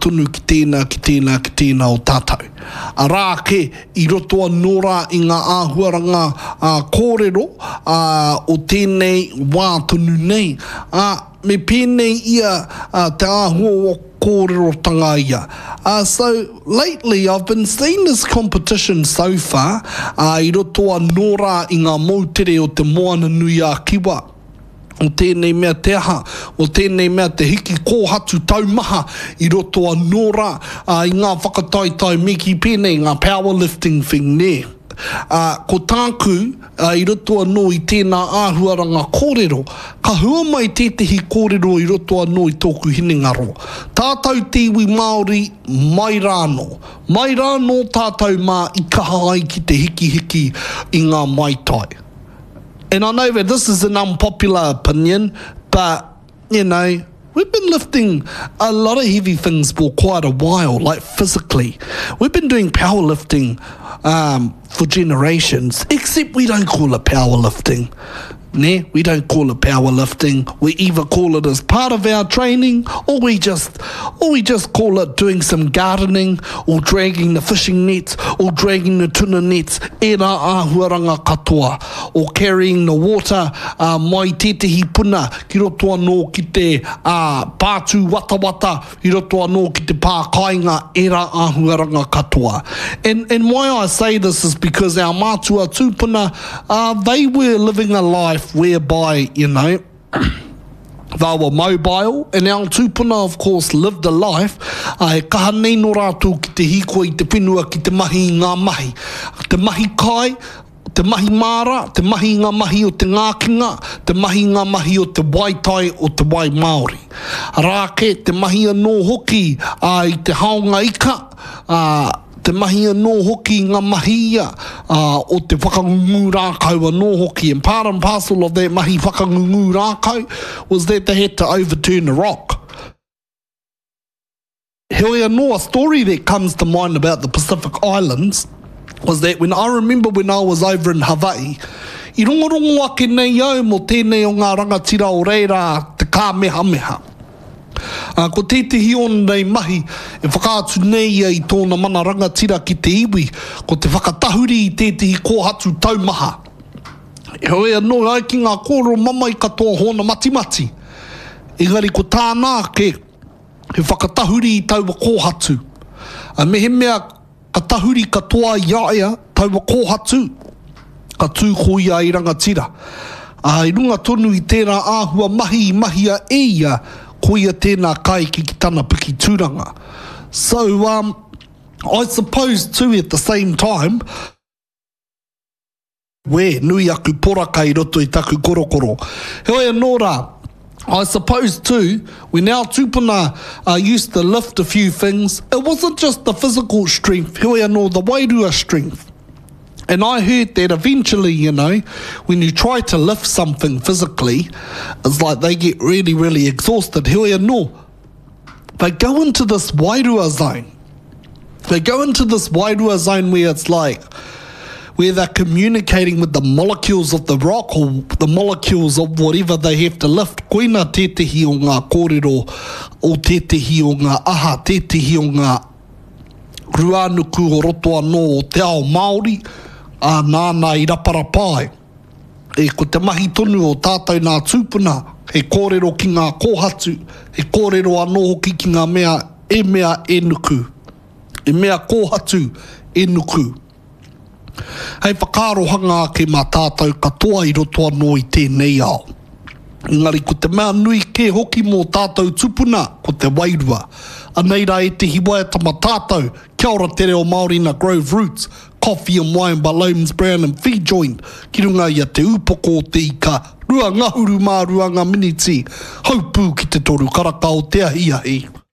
Tonu ki tēnā, ki tēnā, ki tēnā o tātou. Arā ake, i roto anō rā i ngā āhuaranga kōrero o tēnei wā tonu nei, ā, me pēnei ia te āhua o kōrerotanga ia. So, lately I've been seeing this competition so far, i roto anō rā i ngā moutere o Te Moana-nui-a-Kiwa. o tēnei mea te aha, o tēnei mea te hiki kōhatu taumaha i roto anō rā i ngā whakataetae me kī pēnei, ngā powerlifting thing nē. Ā, ko tāku, i roto anō i tēnā āhuaranga kōrero, ka hua mai tētehi kōrero i roto anō i tōku hinengaro. Tātou te iwi Māori, mai rānō. Mai rānō tātou mā i kaha ai ki te hikihiki i ngā maitai. And I know that this is an unpopular opinion, but, you know, we've been lifting a lot of heavy things for quite a while, like physically. We've been doing powerlifting um, for generations, except we don't call it powerlifting. Ne? We don't call it powerlifting. We either call it as part of our training or we just or we just call it doing some gardening or dragging the fishing nets or dragging the tuna nets, ērā āhuaranga katoa, or carrying the water uh, mai tētehi puna ki roto anō ki te uh, pātū watawata, i roto anō ki te pā kāinga, ērā āhuaranga katoa. And, and why I say this is because our mātua tūpuna, uh, they were living a life whereby, you know, They were mobile, and our tūpuna of course lived a life, ā, he kaha nei nō rātou ki te hīkoi i te whenua ki te mahi i ngā mahi. Te mahi kai, te mahi māra, te mahi i ngā mahi o te ngākinga, te mahi i ngā mahi o te wai tai, o te wai Māori. Arā ake, te mahi anō hoki, ā, i te haonga ika, ā, Te mahi anō hoki i ngā mahi ia, ā, o te whakangungu rākau anō hoki. And part and parcel of that mahi whakangungu rākau was that they had to overturn a rock. Heoi anō, a story that comes to mind about the Pacific Islands was that when I remember when I was over in Hawaii, i rongorongo ake nei au mō tēnei o ngā rangatira o reira, te kāmehameha. Ā, ko tētehi ōna nei mahi e whakaatu nei ia i tōna mana rangatira ki te iwi, ko te whakatahuri i tētehi kōhatu taumaha. Heoi anō, e ai ki ngā kōrero mamae katoa hōna matimati, engari ko tāna ake, he whakatahuri i taua kōhatu. Ā, mehemea Ka tahuri katoa i a ia taua kōhatu, ka tū ko ia i rangatira. Ā, i runga tonu i tērā āhua mahi i mahia e ia, ko ia tēnā ka eke ki tana piki tūranga. So, um, I suppose too at the same time, Wē, nui aku poraka i roto i taku korokoro. Heoi anō rā, I suppose too, when our tūpuna used to lift a few things, it wasn't just the physical strength, heoi anō, the wairua strength. And I heard that eventually, you know, when you try to lift something physically, it's like they get really, really exhausted. Heoi anō, they go into this wairua zone. They go into this wairua zone where it's like, where they're communicating with the molecules of the rock or the molecules of whatever they have to lift. Koina tētehi o ngā kōrero o tētehi o ngā aha, tētehi o ngā ruānuku o roto anō o te ao Māori, ā, nāna i raparapa ai. E, ko te mahi tonu o tātou nā tūpuna, he kōrero ki ngā kōhatu, he kōrero anō hoki ki ngā mea e mea e nuku. E mea kōhatu e nuku. Hei whakaarohanga ake mā tātou katoa i roto anō i tēnei ao. Engari ko te mea nui kē hoki mō tātou tupuna, ko te wairua. Anei rā ētehi waiata mā tātou, Kia ora te reo Māori na Grove Roots, Coffee and Wine by Loams Brown and Fee Joint ki runga i a Te Ūpoko o Te Ika, 22 ngā miniti, haupū ki te toru karaka o te ahiahi.